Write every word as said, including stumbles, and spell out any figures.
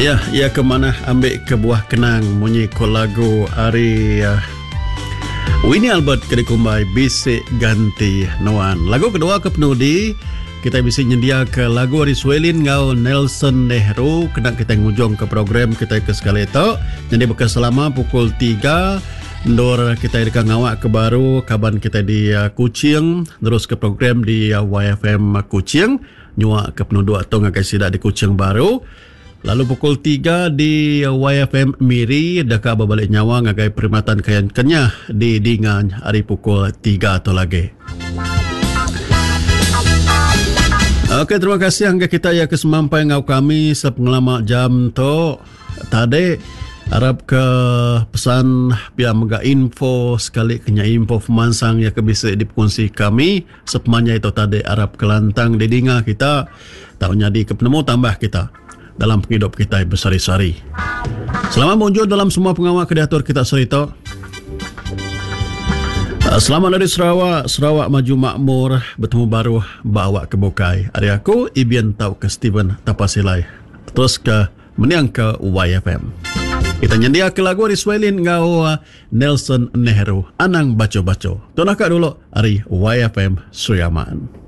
Ya, iya ke manah ambi ke buah kenang munyi ko lagu ari uh, Winnie Albert ke dikumbai Bisi Ganti Nuan. Lagu kedua ke penudi kita bisi nyendia ke lagu ari Swelin enggau Nelson Nehru kena kita ngujung ke program kita ke sekali tu. Jadi baka selama pukul tiga endur kita deka ngawak ke baru kaban kita di uh, Kuching terus ke program di uh, Y F M Kuching nyua ke penuduk tu ngagai sida di Kuching baru. Lalu pukul tiga di Y F M Miri deka berbalik nyawa ngagai Perkhidmatan Kayan Kenyah di Dingan hari pukul tiga tu lagi. Okey, terima kasih hingga kita ya ke semampai ngau kami sepengelama jam tu tadi. Harap ke pesan pia mega info sekali kenya info pemansang yang ke bisa dikongsi kami sepemanjai itu tadi. Harap kelantang didinga kita tahu nyadi ke penemu tambah kita dalam penghidup kita bersari-sari. Selamat muncul dalam semua pengawal ke diatur kita serita. Selamat dari Sarawak, Sarawak maju makmur, bertemu baru bawa ke bukai. Hari aku Ibian tau ke Steven Tapasilai. Terus ke meniang ke Y F M. Kita nyendia ke lagu dari Swelin ngau Nelson Nehru. Anang baco-baco. Tunah kak dulu hari Y F M Sri Aman.